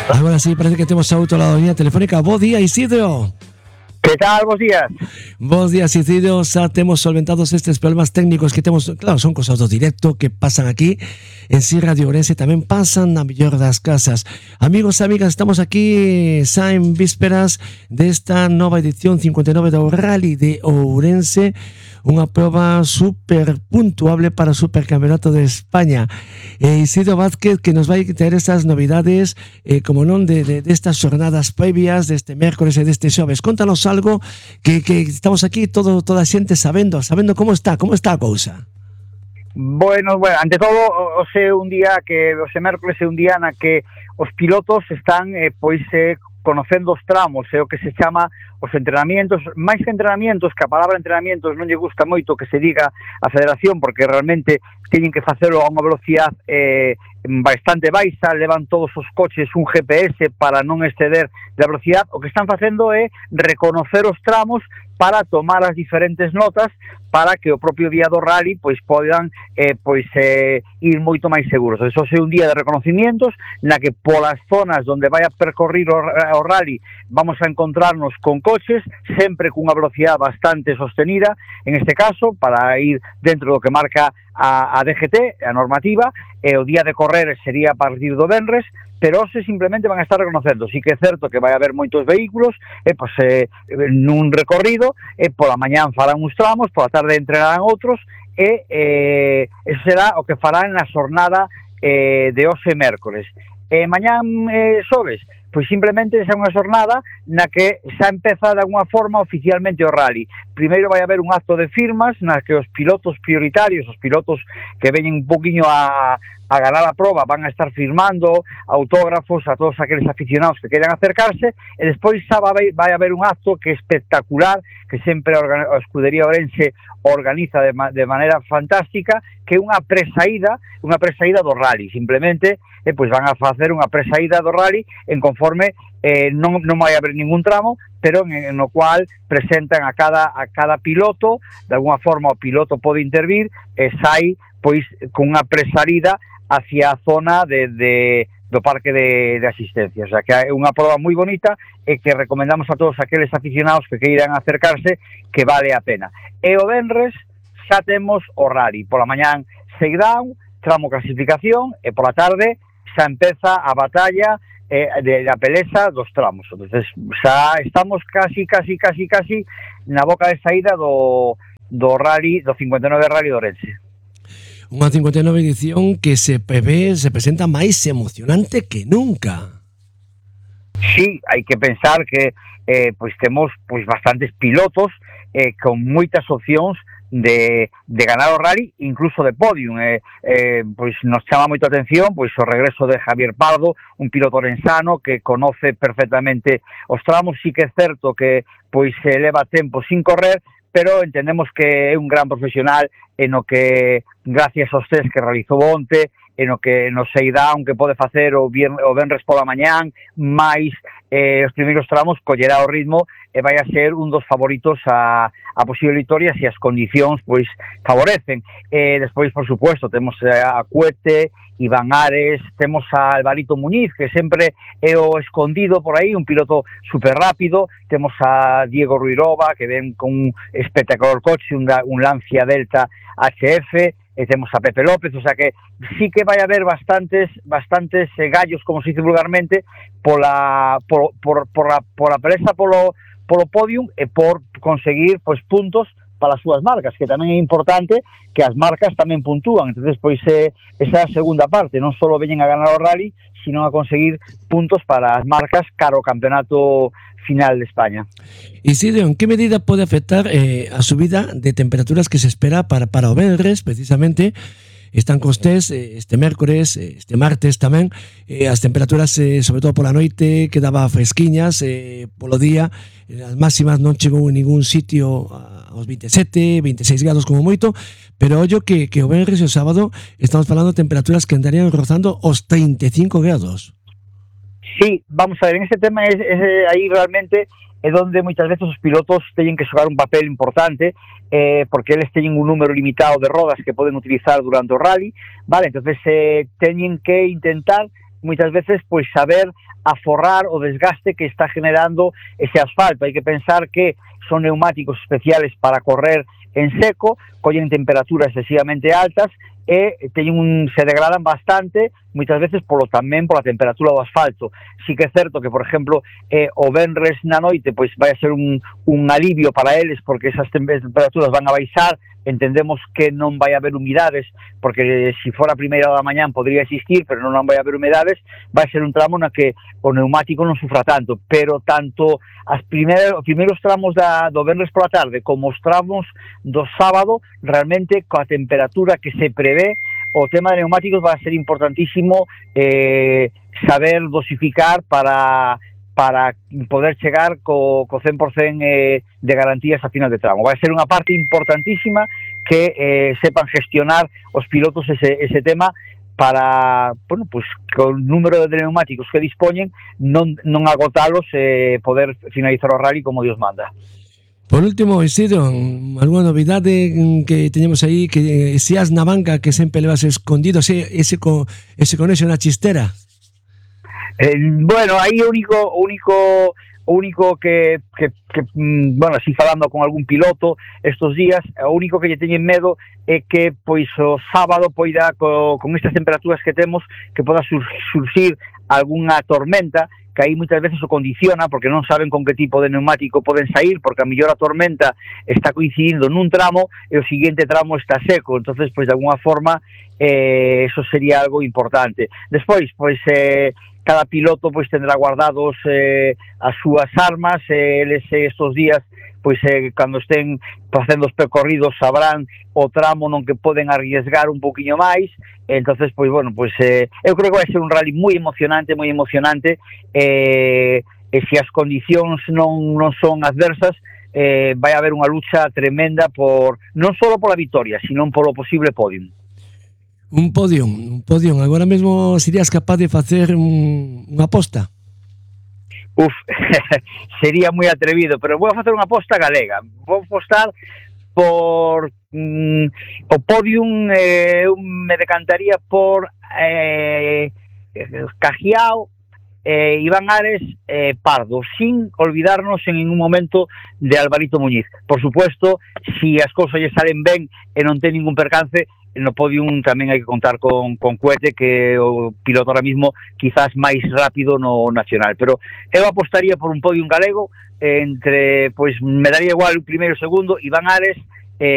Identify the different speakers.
Speaker 1: Agora sí, parece que temos a outro lado da línea telefónica. Bo día, Isidro.
Speaker 2: Que tal, bos días?
Speaker 1: Bos días, Isidro. Xa temos solventados estes problemas técnicos que temos. Claro, son cosas do directo que pasan aquí en Si Radio Ourense, tamén pasan na mellor das casas. Amigos e amigas, estamos aquí xa en vísperas desta nova edición 59 do Rally de Ourense, unha proba super puntuable para o Supercampeonato de España. Isidro Vázquez, que nos vai ter esas novidades, como non, de estas jornadas previas deste mércores e deste xoves. Contanos algo que estamos aquí toda a xente sabendo como está a cousa.
Speaker 2: Bueno, ante todo, hoxe un día que hoxe mércores é un día na que os pilotos están conocendo os tramos, é o que se chama os entrenamientos, máis que entrenamientos, que a palabra entrenamientos non lle gusta moito que se diga a federación, porque realmente teñen que facelo a unha velocidade bastante baixa, levan todos os coches un GPS para non exceder da velocidade. O que están facendo é reconocer os tramos para tomar as diferentes notas para que o propio día do rally podan ir moito máis seguros. Eso é un día de reconocimientos na que polas zonas onde vai a percorrir o rally vamos a encontrarnos con coches sempre cunha velocidade bastante sostenida, en este caso para ir dentro do que marca a DGT, a normativa, e o día de correr sería a partir do venres, pero hoxe simplemente van a estar reconocendo. Sí que é certo que vai haber moitos vehículos nun recorrido, pola mañán farán uns tramos, pola tarde entrenarán outros, e eso será o que farán na xornada de hoxe mércores. Mañán xoves, pois simplemente é unha xornada na que xa empeza de alguna forma oficialmente o rally. Primeiro vai haber un acto de firmas na que os pilotos prioritarios, os pilotos que veñen un poquinho a ganar a proba, van a estar firmando autógrafos a todos aqueles aficionados que queiran acercarse, e despois xa vai haber un acto que é espectacular, que sempre a Escudería Ourense organiza de maneira fantástica, que é unha presaída do rally. Simplemente pois van a facer unha presaída do rally en conforme non vai haber ningún tramo, pero no cual presentan a cada piloto, de alguna forma o piloto pode intervir e sai pois con unha presaída hacia a zona do parque de asistencia. O sea, que é unha proba moi bonita e que recomendamos a todos aqueles aficionados que queiran acercarse, que vale a pena. E o venres xa temos o rally. Pola mañán shakedown, tramo clasificación, e pola tarde xa empeza a batalla da peleza dos tramos. Entonces xa estamos casi na boca de saída do rally, do 59 Rally de Ourense.
Speaker 1: Unha 59 edición que se presenta máis emocionante que nunca.
Speaker 2: Sí, hai que pensar que temos bastantes pilotos con moitas opcións de ganar o rally, incluso de podium. Nos chama moito a atención o regreso de Javier Pardo, un piloto orensano que conoce perfectamente os tramos. Sí que é certo que se leva tempo sin correr, pero entendemos que é un gran profesional en o que, gracias aos test que realizou onte, en o que nos shakedown que pode facer o venres pola mañán, máis os primeiros tramos, collerá o ritmo e vai a ser un dos favoritos a posible victoria se as condicións favorecen. Despois, por supuesto, temos a Cuete, Iván Ares, temos a Alvarito Muñiz, que sempre é o escondido por aí, un piloto super rápido, temos a Diego Ruirova, que ven con un espectacular coche, un Lancia Delta HF, e temos a Pepe López. O sea que sí que vai haber bastantes gallos, como se dice vulgarmente, por a peleza polo podium e por conseguir puntos para as súas marcas, que tamén é importante que as marcas tamén puntúan. Entonces, esa é a segunda parte, non só veñen a ganar o rally, sino a conseguir puntos para as marcas cara ao campeonato final de España.
Speaker 1: Isidro, en que medida pode afectar a subida de temperaturas que se espera para o venres, precisamente? Están cos test este mércores, este martes tamén, as temperaturas, sobre todo pola noite, quedaba fresquiñas, polo día, as máximas non chegou en ningún sitio aos 27, 26 grados como moito, pero ollo que o venres e o sábado estamos falando de temperaturas que andarían rozando os 35 grados.
Speaker 2: Sí, vamos a ver, en ese tema aí realmente é onde moitas veces os pilotos teñen que xogar un papel importante, porque eles teñen un número limitado de rodas que poden utilizar durante o rally, vale, entonces teñen que intentar moitas veces pois saber aforrar o desgaste que está generando ese asfalto. Hai que pensar que son neumáticos especiales para correr en seco, collen temperaturas excesivamente altas e se degradan bastante, moitas veces tamén pola temperatura do asfalto. Si que é certo que, por exemplo, o venres na noite pois vai a ser un alivio para eles, porque esas temperaturas van a baixar, entendemos que non vai haber humidades, porque se fora a primeira da mañán podría existir, pero non vai haber humidades, vai ser un tramo na que o neumático non sufra tanto, pero tanto os primeiros tramos do venres pola tarde como os tramos do sábado, realmente coa temperatura que se prevé, o tema de neumáticos vai a ser importantísimo saber dosificar para poder chegar co 100% de garantías a final de tramo. Vai ser unha parte importantísima que sepan gestionar os pilotos ese tema para, bueno, pues con o número de neumáticos que dispoñen non agotalos e poder finalizar o rally como Dios manda.
Speaker 1: Por último, Isidro, alguna novidade que teñemos aí, que se as na banca que sempre levas escondido, ese conexo na chistera?
Speaker 2: Bueno, aí o único que bueno, así falando con algún piloto estos días, o único que lle teñen medo é que pois o sábado poida con estas temperaturas que temos, que poda surxir algunha tormenta, que aí moitas veces o condiciona, porque non saben con que tipo de neumático poden sair, porque a mellor a tormenta está coincidindo nun tramo e o seguinte tramo está seco, entonces pois de alguna forma eso sería algo importante. Despois, pois cada piloto pois tendrá guardados as súas armas, eles estos días pois cando estén facendo os percorridos sabrán o tramo non que poden arriesgar un poquinho máis, entonces pois bueno, pois eu creo que vai ser un rally moi emocionante e se as condicións non son adversas, vai haber unha lucha tremenda non só pola vitoria, sino polo posible podium.
Speaker 1: Un podium. Agora mesmo serías capaz de facer unha aposta?
Speaker 2: Sería moi atrevido, pero vou a facer unha aposta galega. Vou apostar por o podium, me decantaría por Cajiao, Iván Ares, Pardo, sin olvidarnos en ningún momento de Alvarito Muñiz. Por supuesto, si as cousas lle salen ben e non ten ningún percance, no podium tamén hai que contar con Cuete, que é o piloto ahora mismo quizás máis rápido no nacional, pero eu apostaría por un podium galego entre, pois me daría igual o primeiro e o segundo, Iván Ares,